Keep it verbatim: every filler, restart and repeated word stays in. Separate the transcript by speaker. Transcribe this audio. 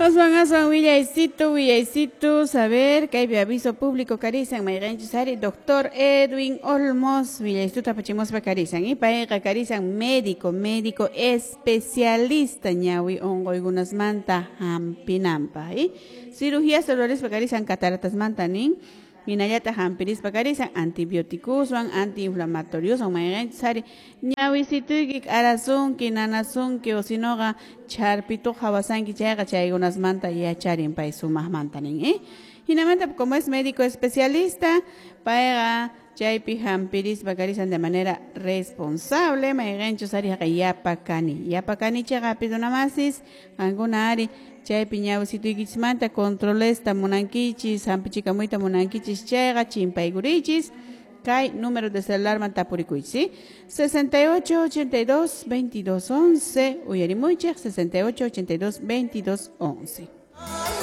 Speaker 1: Aswan aswan willaysitu willaysitu saber kaypi aviso público karisan mayqanchus ari doctor Edwin Olmos willaystuta apachimuspa karisan y payqa karisan médico médico especialista ñawi unquykunasmanta hampinanpaq y cirugías rurarispa karisan cataratasmanta nin hinallataq hampirispa karisan antibióticoswan antiinflamatorioswan mayqanchus ari ñawisituyki k'arasunki nanasunki o sinoqa chharpituq hawasanki chayqa chaykunasmanta yacharin pay sumaqmanta nin eh hinamanta como es médico especialista payqa chaypi hampirispa karisan de manera responsable mayqanchus ari haqa yapakani yapakani chayqa apidunamasis qankuna ari chaypi ñawisituykichismanta controlesta munankichis hampichikamuyta munankichis chayqa chimpaykurichis kay número de celular tapurikuychis ¿sí? sesenta y ocho ochenta y dos veintidós once uyarimuychik sesenta y ocho ochenta y dos veintidós once.